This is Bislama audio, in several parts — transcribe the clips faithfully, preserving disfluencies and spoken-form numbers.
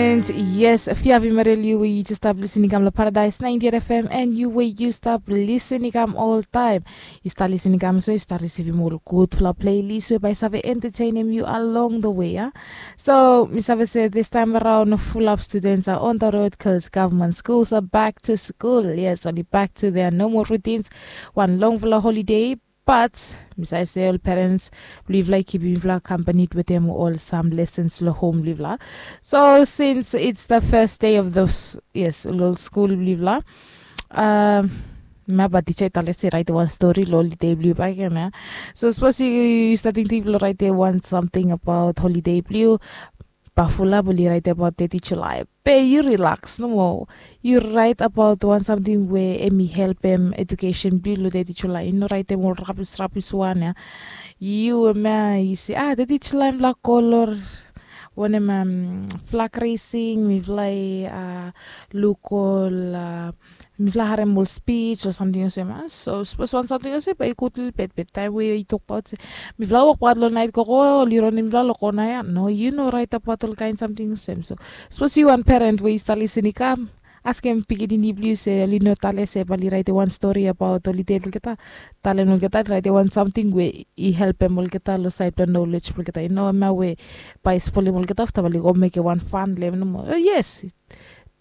And yes, if yu have Imarel, yu we yu just stap listening kam lo Paradise ninety-eight F M, and yu we yu stap listening kam all time. Yu stap listening kam so yu stap receiving all goodful playlist we by save entertaining you along the way, yeah. So mi save say this time around, full up students are on the road because government schools are back to school. Yes, only back to their normal routines. One long full holiday, but mi save say all parents, believe like keeping fla accompanied with them all some lessons lo home, believe la. So since it's the first day of those, yes, lo school, believe la. Um, ma ba teacher i tale se write one story lo holiday blue back in, yeah. So suppose you, you starting to lo write one something about holiday blue, ba fula buli write about thirty July. Be you relax no more. You write about one something where emi help em education blue lo thirty July. You know, write them all rubbish, rubbish one, yeah. You ma, you say, ah, thirty July black color. Wanem, um, flag raising, mifala i, uh, luk ol, uh, mifala harem ol speech o samting olsem, ah. So sapos wan samting olsem bae i gud lelebet, be taem we i tokbaot se mifala wokbaot long naet gogo, oli ronem mifala long kona ya. No, yu no raetabaot ol kaen samting olsem. So sapos yu wan peren we yu stap lisin i kam, askem pikinini blong yu se oli no tale se bae oli raetem wan stori abaot holiday blong olgeta. Talem olgeta raetem wan samting we i helpem olgeta long saed blong nolej blong olgeta. I no hemia we bae i spolem olgeta afta bae oli go mekem wan fan long hem nomo. O yes,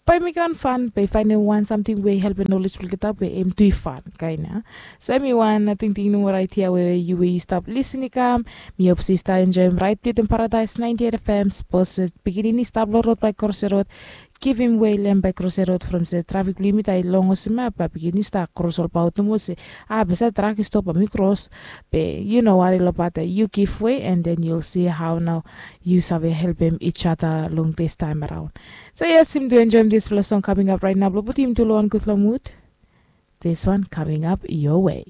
bae i mekem wan fan, bae i faenem wan samting we i helpem nolej blong olgeta be hem tu i fan kaen ya. So hemi wan tingting nomo raet ya we yu we yu stap lisin i kam. Mi hop se yu stap enjoem raed blong yu wetem Paradise ninety-eight F M. Sapos pikinini i stap long rod bae i krosim rod, givim wei long hem bae i krosim rod from se trafik blong yumi taem i long olsem ya, bae pikinini i stap kros olbaot nomo se, ah, be se trak i stop, bae mi kros. Be yu no wari long bae yu give way, and then you'll see how now yu save helpem each other long this time around. So yes, yumi tu enjoem disfala song coming up right now blong putum yumi tu long wan gudfala mood. This one coming up your way.